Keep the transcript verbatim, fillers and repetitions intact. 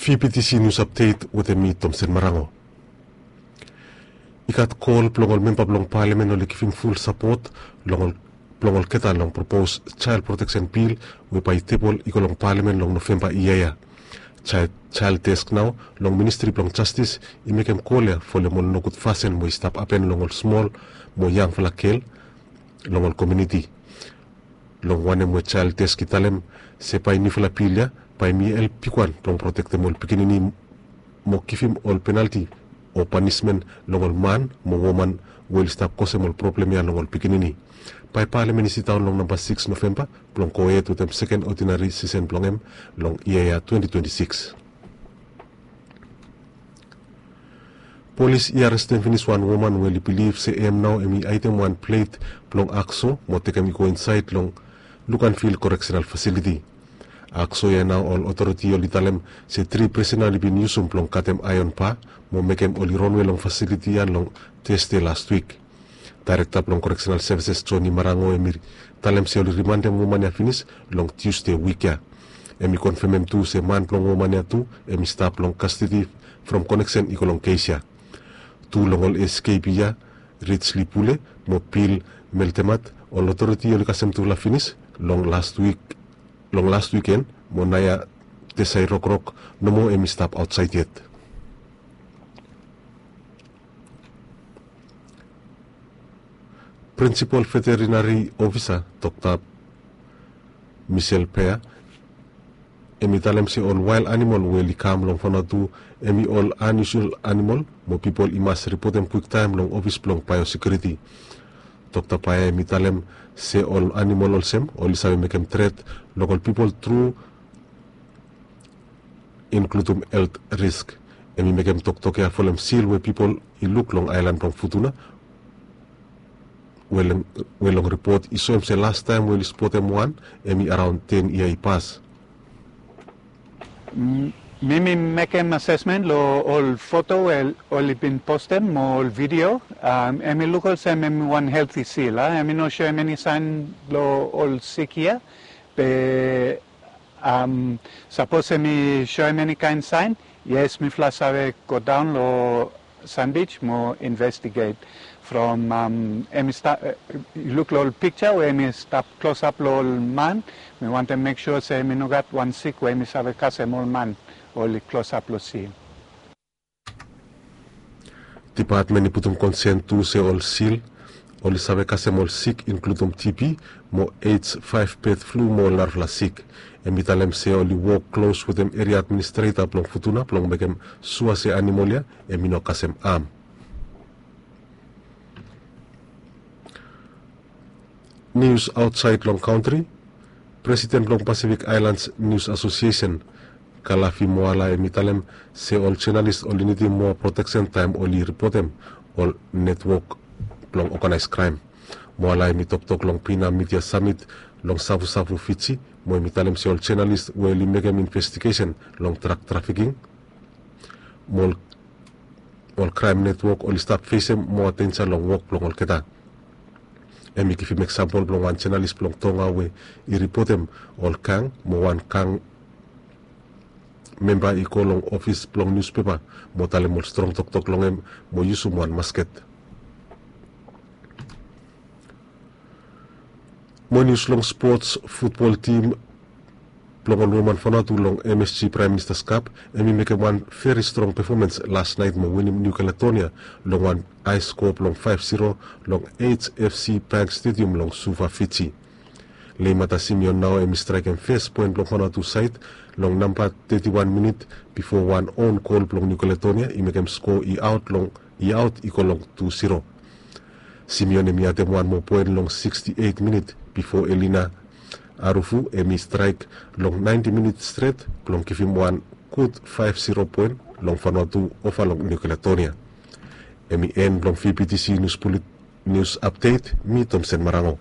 V P T C News Update wetem mi, Tomsen Marango. I gat kol blong ol memba blong palamen oli givim ful sapot long ol blong olgeta long propos jael proteksen bil we bae i tebol i go long palamen long Novemba yia ya. Jael desk nao long Ministri blong Jastis i mekem kol ya folem ol nogud fasin we i stap hapen long ol smol mo yangfala gel long ol komuniti. Long wanem we jael desk i talem se bae niufala bil ya bae hem i help bigwan blong protektem ol pikinini mo givim ol penalti o panismen long ol man mo woman we oli stap kosem ol problem ya long ol pikinini. Bae palamen i sidaon long namba sikis Novemba blong gohed wetem seken odinari sesen blong hem long yia ya twenti twenti sikis. Polis i arestem finis wan woman we oli bilif se hem nao hem i aedem wan plet blong akso mo tekem i go insaed long Luganville Correctional Facility. Akso ya nao ol otoriti oli talem se tri prisona oli bin yusum blong katem aeon ba mo mekem oli ronwe long fasiliti ya long Tasde lastwik. Daerekta blong Correctional Services Johnny Marango hem i talem se oli rimandem woman ya finis long Tusde wik ya. Hem i konfemem tu se man blong woman ya tu hem i stap long kastedi from koneksen i go long kes ya. Tu long ol eskepi ya, Rijli Pule mo Bil Meltemat, ol otoriti oli kasem tufala finis long lastwik, long last wiken mo naoia Tesai Rokrok nomo hem i stap aotsaed yet. Prinsipol Veterinari Ofisa Dokta Michel Pea hem i talem se ol wael animol we oli kam long Vanuatu hem i ol aniusual animol mo pipol i mas ripotem kwiktaem long ofis blong baeosekiuriti. Dokta Pea hem i talem se ol animol olsem oli save mekem tret long ol pipol tru, inkludum helt risk. Hem i mekem toktok ya folem sil we pipol i luk long aelan blong Futuna we long ripot i soem se lastaem we oli spotem wan hem i araon ten yia i pas. Mi mi mekem asesmen long ol foto we oli bin postem mo ol vidio. Hem i luk olsem hem i wan helti sil a, hem i no soem eni saen blong ol sik ya. Be sapos hem i soem eni kaen saen, yes, mifala save godaon long Sandbij mo investiget. From hem i luk long ol pikja we hem i stap klosap long ol man, mi wantem mek sua se hem i no gat wan sik we hem i save kasem ol man oli klosap long sil. Dipatmen i putum konsen tu se ol sil oli save kasem ol sik inkludum T B mo H five bird flu mo ol narafala sik. Hem i talem se oli wok klos wetem eria administreta blong Futuna blong mekem sua se animol ya hem i no kasem am. Nius aotsaed long kantri. Presiden blong Pasifik Aelans Nius Asosiesen Kalafi Moala hem i talem se ol jenalis oli nidim moa proteksen taem oli ripotem ol netwok blong oganaes kraem. Moala hem i toktok long Pina Midia Samit long Savusavu, Fiji mo hem i talem se ol jenalis we oli mekem investigesen long drak trafiking mo ol kraem netwok oli stap fesem moa denja long wok blong olgeta. Hem i givim eksampol blong wan jenalis blong Tonga we i ripotem ol gang mo wan gang memba i go long ofis blong niuspepa mo talem ol strong toktok long hem mo yusum wan masket. Mo nius long spots, futbol tim blong ol woman Vanuatu long M S G Praem Minista Cup hem i mekem wan veri strong pefomans lasnaet mo winim Niu Kaledonia long wan ae skoa blong faef ziro long H F C Bank Stadium long Suva, Fiji. Leimata Simeon nao hem i straekem fes poen blong Vanuatu saed long namba teti wan minit bifo wan own gol blong Niu Kaledonia i mekem skoa i aot long i aot i go long tu ziro. Simeon hem i adem wan moa poen long siksti eit minit bifo Elina Arufu hem i straek long naenti minit stret blong givim wan gud faef ziro poen long Vanuatu ova long Niu Kaledonia. Hem i en blong V P T C Nius Apdet. Mi Tomsen Marango.